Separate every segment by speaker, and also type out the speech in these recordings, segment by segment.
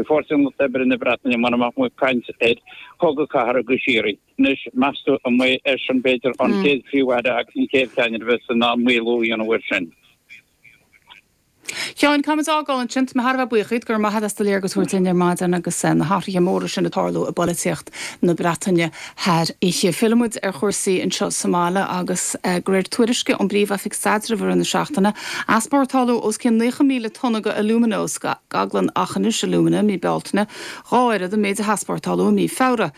Speaker 1: faoi Pháirtí an Lucht Oibre na Breataine mura mbeadh muid ag caint ar chogadh cathartha go síoraí. Anois, meas tú an mbeidh eisean, b'fhéidir, an chéad Phríomh-Aire agus an chéad cheannaire a bheas in ann maolú a dhéanamh air sin?
Speaker 2: Sheáin, caithfimid fágáil ansin. Tá mé thar a bheith buíoch díot. Go raibh maith agat as do léargas a thabhairt dúinn ar maidin agus na hathruithe móra sin ag tarlú i bpolaitíocht na Breataine thar oíche. Fillfidh muid ar chúrsaí anseo sa mbaile agus de réir tuairisce ón bPríomh-Oifig Staidrimh i rith na seachtaine, easpórtáladh os cionn 90,000 tonna de alúmana ó scaglann Aughinish Alumina i mí Bealtaine, dhá oiread an méid a heaspórtáladh i mí Feabhra.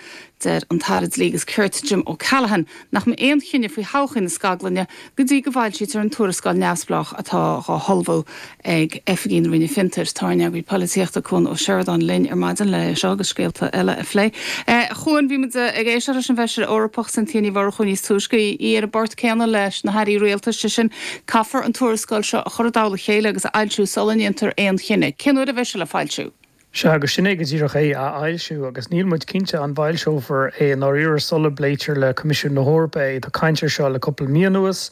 Speaker 2: Deir an tAire Dlí agus Cirt Jim O'Callaghan nach mbeidh aon chinneadh faoi thodhchaí na scaglainne go dtí go bhfoilsítear an tuarascáil neamhspleách atá dhá hullmhú ag oifigigh na Roinne Fiontair. Tá ár n-eagraí polaitíochta Cuan Ó Seireadáin linn ar maidin le é seo agus scéalta eile a phlé. A Chuain, bhí muid ag éisteacht leis an bhFeisire Eorpach Cynthia Ní Mhurchú níos túisce, í ar an bport céanna leis na hairí rialtais, sé sin, caithfear an tuarascáil seo a chur i dtoll a chéile agus a fhoilsiú sula ndéantar aon chinneadh. Cén uair a bheidh sé le foilsiú?
Speaker 3: Sea, agus sin é go díreach é, a fhoilsiú, agus níl muid cinnte an bhfoilseofar é i ndáiríre sula bpléitear le Coimisiún na hEorpa é. Tá caint air seo le cúpla mí anuas,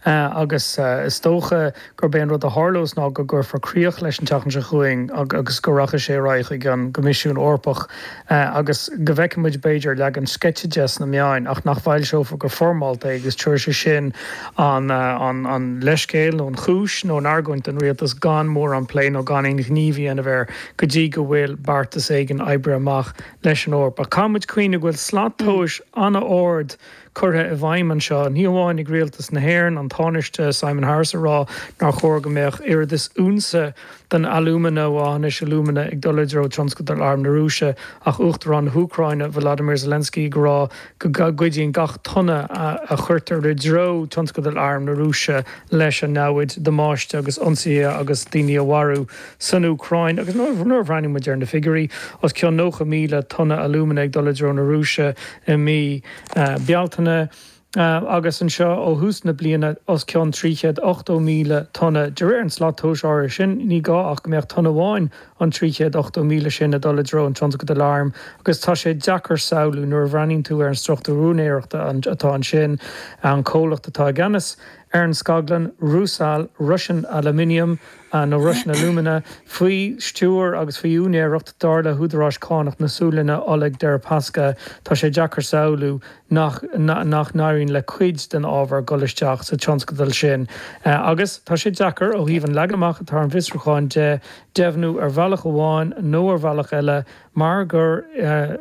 Speaker 3: agus is dócha gurb é an rud a tharlós ná go gcuirfear críoch leis an tseachtain seo chugainn agus go rachaidh sé ar aghaidh chuig an gCoimisiún Eorpach agus go bhfeicfidh muid, b'fhéidir, leagan sceitse de sna meáin ach nach bhfoilseofar go foirmeálta é agus tabharfaidh sé sin an leithscéal nó an chúis nó an argóint don rialtas gan mórán plé nó gan aon ghníomh a dhéanamh air go dtí go bhfuil beartas éigin oibrithe amach leis an Eoraip. Ach caithfidh muid cuimhneamh go bhfuil slat tomhais an-ard curtha i bhfeidhm anseo, ní hamháin ag rialtas na hÉireann, an Tánaiste Simon Harris ag rá nár chóir go mbeadh oiread is unsa den alúmana ó Aughinish Alumina ag dul i dtreo tionscadal arm na Rúise, ach Uachtarán na hÚcráine, Volodymyr Zelensky ag rá go gcuidíonn gach tonna a chuirtear i dtreo tionscadal arm na Rúise leis an namhaid damáiste agus ionsaithe agus daoine a mharú san Úcráin. Agus nuair a bhreathnaíonn muid ar na figiúirí, os cionn 90,000 tonna alúmana ag dul i dtreo na Rúise i mí Bealtaine, agus anseo ó thús na bliana os cionn 380,000 tonna. De réir an slat tomhais áirithe sin, ní gá ach go mbeadh tonna amháin an 380,000 sin ag dul i dtreo an tionscadail airm agus tá sé deacair samhlú nuair a bhreathnaíonn tú ar an struchtúr úinéireachta atá ansin, an comhlacht atá i gceannas ar an scaglann, Rusal, Russian Aluminium nó Russian Alumina, faoi stiúir agus faoi úinéireacht, dar le húdaráis cánach na Sualainne, Oleg Deripaska, tá sé deacair samhlú nach nach n-éiríonn le cuid den ábhar dul isteach sa tionscadal sin. Agus tá sé deacair, ó thaobh an leagan amach atá ar an bhfiosrúchán de, deimhniú ar bhealach amháin nó ar bhealach eile, mar gur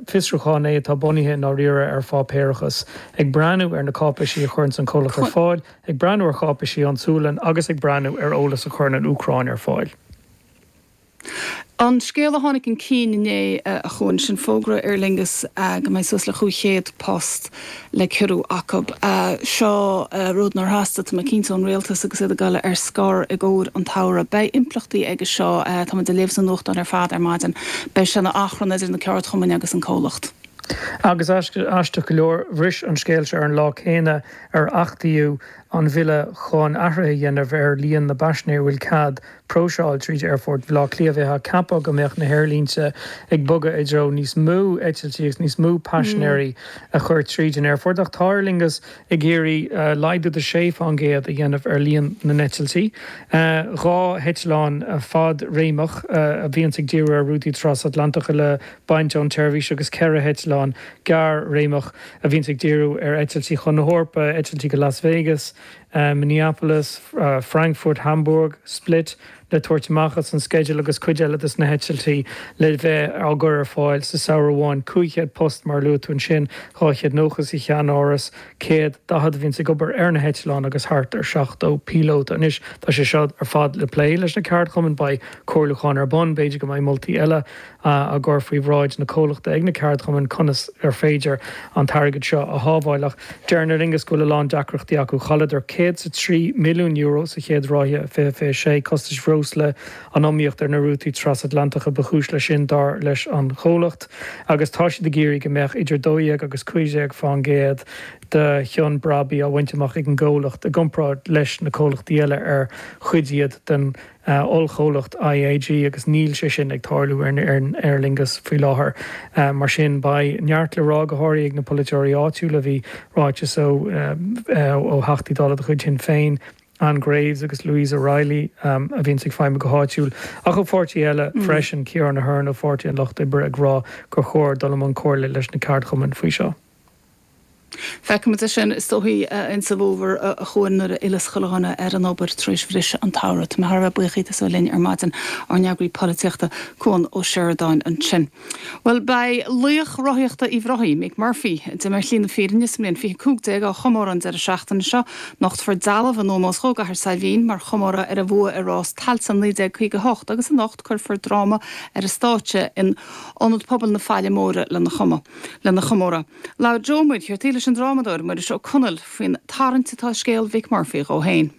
Speaker 3: fiosrúchán é atá bunaithe i ndáiríre ar pháipéarachas, ag breathnú ar na cáipéisí a chuireanns an comhlacht ar fáil, ag breathnú ar cháipéisí ón tSualainn agus ag breathnú ar eolas a chuireann an Úcráin ar fáil.
Speaker 2: An scéal a tháinig chun cinn inné, a Chuain, sin fógra Aer Lingus go mbeidh suas le 500 post le ciorrú acu. Seo rud nár theastaigh, tá mé cinnte, ón rialtas agus iad ag dul ar scor i gcomhair an tsamhraidh. Beidh impleachtaí aige seo, tá muid ag léamh sna nuachtáin ar fad ar maidin, beidh sé ina achrann idir na ceardchumainn agus an comhlacht.
Speaker 3: Agus aisteach go leor, bhris an scéal seo ar an lá céanna ar achtaíodh an bhille chun athruithe a dhéanamh ar líon na bpaisinéirí a bhfuil cead próiseáil tríd Aerfort Bhaile Átha Cliath. Bheifeá ag ceapadh go mbeadh na haerlínte ag bogadh i dtreo níos mó eitiltí agus níos mó paisinéirí a chur tríd an aerfort ach tá Aer Lingus ag iarraidh laghdú de 6 fán gcéad a dhéanamh ar líon na n-eitiltí. 2 heitleán fad-réimeach a bhíonns ag díriú ar rútaí trasatlantacha le baint ón tseirbhís agus 4 heitleán gearr-réimeach a bhíonns ag díriú ar eitiltí chun na hEorpa, eitiltí go Las Vegas, Minneapolis, Frankfurt, Hamburg, Split le tabhairt amach as an sceideal agus cuid eile des na heitiltí le bheith á gcur ar fáil sa samhradh amháin. 500 post mar a luaigh tú ansin, 290 sa cheannáras, 140 a bhíonns ag obair ar na heitleáin agus thart ar 70 píolóta. Anois tá sé seo ar fad le plé leis na ceardchumainn, beidh comhairliúchán ar bun, b'fhéidir go mbeidh moltaí eile á gcur faoi bhráid na comhlachta ag na ceardchumainn conas ar féidir an t-airgead seo a shábháil. Ach deireann Aer Lingus go bhfuil a lán deacrachtaí acu. Chailleadar €103 milliún sa chéad ráithe 2026. Costais bhreosla, an iomaíocht ar na rútaí trasatlantacha ba chúis leis sin, dar leis an chomhlacht. Agus tá siad ag iarraidh go mbeadh idir 12 agus 15 fán gcéad de chion brabaigh á bhaint amach ag an gcomhlacht i gcomparáid leis na comhlachtaí eile ar chuid iad den ollchomhlacht IAG agus níl sé sin ag tarlú ar Aer Lingus faoi láthair. Mar sin, beidh neart le rá, go háirithe ag na polaiteoirí áitiúla. Bhí ráiteas ó Theachtaí Dála de chuid Shinn Féin. Ann Graves agus Louise O'Reilly, a bhíonns ag feidhmiú go háitiúil, ach ó pháirtithe eile freisin, Ciarán Ahern ó Pháirtí an Lucht Oibre ag rá gur chóir dul i mbun comhairle leis na ceardchumainn faoi seo.
Speaker 2: Feicfimid é sin is dóichí insa bhfómhar a chugainn nuair a fhilleas chuile dhuine ar an obair tar éis bhriseadh an tsamhraidh. Tá mé thar a bheith buíoch díot as a bheith linn ar maidin, ár n-eagraí polaitíochta, Cuan Ó Seireadáin ansin. Bhuel, beidh laoch rothaíochta Uíbh Ráthaigh, Mick Murphy, a d'imigh ar shlí na fírinne sa mbliain 2015, á chomóradh an deireadh seachtaine seo. Nochtfar dealbh in ómós dhó i gCathair Saidhbhín mar chomóradh ar a bhua i rás Tailteann 1958 agus anocht cuirfear dráma ar an stáitse in Ionad Pobail na Faille Móire lena chomóradh. Labhair Joe Ó Muircheartaigh leis an drámadóir Muiris Ó Conaill faoin tarraingt atá i scéal Mhick Murphy dhó féin.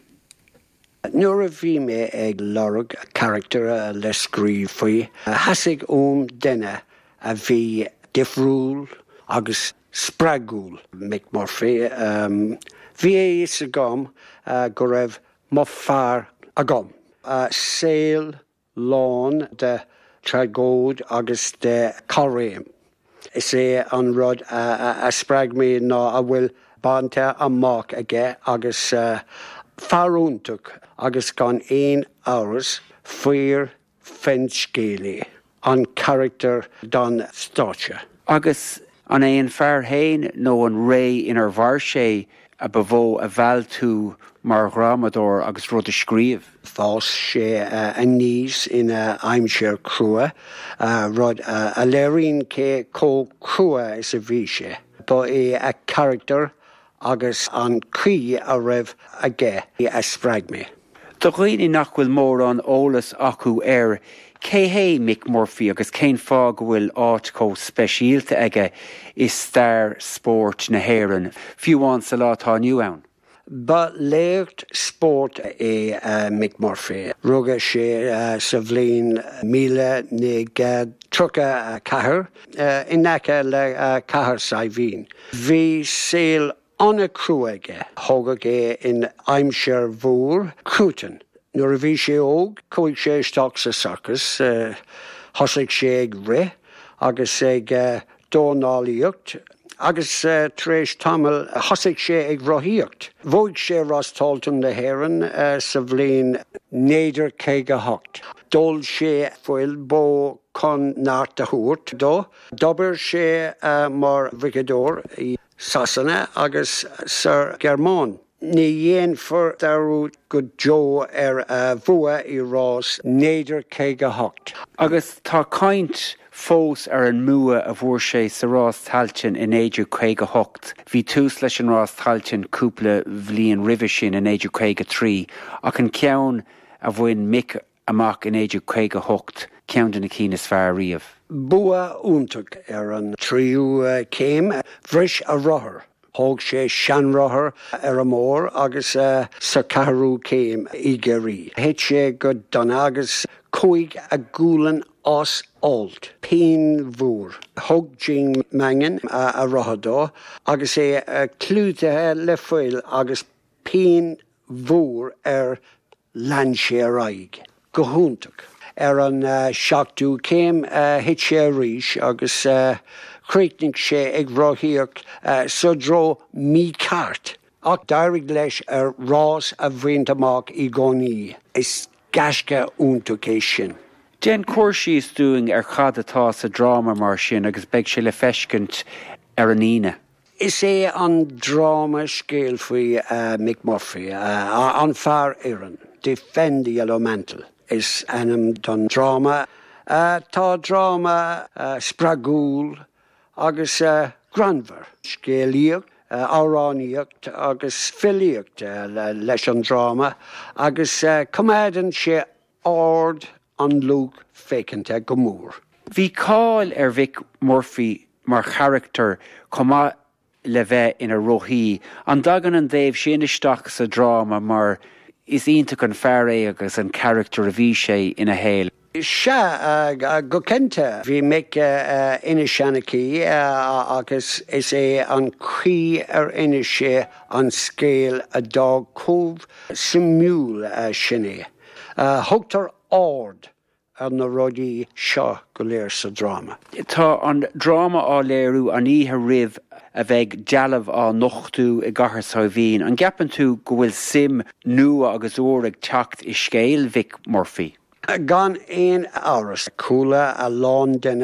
Speaker 4: Nuair a bhí mé ag lorg carachtar le scríobh faoi, theastaigh uaim duine a bhí difriúil agus spreagúil. Mick Murphy. Bhí a fhios agam go raibh mo fear agam. Saol lán de tragóid agus de chaithréim. Is é an rud a spreag mé ná a bhfuil bainte amach aige agus fear iontach agus gan aon amhras fíor finscéalaí an carachtar don stáitse.
Speaker 5: Agus an é an fear féin nó an ré inar mhair sé a ba mhó a mheall tú mar dhrámadóir agus rud a scríobh?
Speaker 4: D'fhás sé aníos ina aimsir chrua, rud a léiríonn cé chomh crua is a bhí sé. Ba é a charachtar agus an chaoi a raibh aige a spreag mé.
Speaker 5: Do dhaoine nach bhfuil mórán eolas acu air, cé hé Mick Murphy agus cén fáth go bhfuil áit chomh speisialta aige i stair spóirt na hÉireann, fiú amháin sa lá atá inniu ann?
Speaker 4: Ba laoch spóirt é Mick Murphy. Rugadh sé sa bhliain 1934 in aice le Cathair Saidhbhín. Bhí saol an-chrua aige. Thógadh é in aimsir mhór cruatain. Nuair a bhí sé óg, chuaigh sé isteach sa sorcas. Thosaigh sé ag rith agus ag dornálaíocht agus tar éis tamaill thosaigh sé ag rothaíocht. Bhuaigh sé Rás Tailteann na hÉireann sa bhliain 1958. D'ól sé fuil bó chun neart a thabhairt dó. D'obair sé mar bhriceadóir i Sasana agus sa Ghearmáin. Ní dhéanfar dearúd go deo ar a bhua i rás 1958.
Speaker 5: Agus tá caint fós ar an mbua a bhfuair sé sa rás Tailteann i 1958. Bhí tús leis an rás Tailteann cúpla bhliain roimhe sin i 1953 ach an ceann a bhain Mick amach i 1958, ceann de na cinn is fearr riamh.
Speaker 4: Bua iontach ar an tríú céim. Bhris a rothar. Thóg sé seanrothar ar an mbóthar agus sa cheathrú céim i gCiarraí, thit sé go dona agus chuaigh a ghualainn as alt. Pian mhór. Thug Jim Mangan a rothar dó agus é clúdaithe le fuil agus pian mhór air Lean sé ar aghaidh go hiontach. Ar an seachtú céim thit sé arís agus chríochnaigh sé ag rothaíocht sa dtreo mícheart. Ach d'éirigh leis a rás a bhaint amach i gcónaí. Is gaisce iontach é sin.
Speaker 5: Déan cur síos dúinn ar cad atá sa dráma mar sin agus beidh sé le feiscint ar an Aoine.
Speaker 4: Is é an dráma scéal faoi Mick Murphy, an fear iarainn. Defend the Yellow Mantle is ainm don dráma. Tá dráma spreagúil agus greannmhar. Scéalaíocht, amhránaíocht agus filíocht leis an dráma agus coimeádann sé aird an lucht féachanta go mór.
Speaker 5: Bhí cáil ar Mhick Murphy mar charachtar chomh maith le bheith ina rothaí. An dtagann an taobh sin isteach sa dráma mar is iontach an fear é agus an carachtar a bhí sé ina shaol?
Speaker 4: Sea, go cinnte. Bhí Mick ina sheanchaí agus is é an chaoi ar inis sé an scéal a d'fhág chomh suimiúil sin é. Thugtar aird. ar na rudaí seo go léir sa dráma.
Speaker 5: Tá an dráma á léiriú an oíche roimh a bheidh dealbh á nochtú i gCathair Saidhbhín. An gceapann tú go bhfuil suim nua agus úr ag teacht i scéal Mhick Murphy?
Speaker 4: Gan aon amhras. Chuala a lán duine.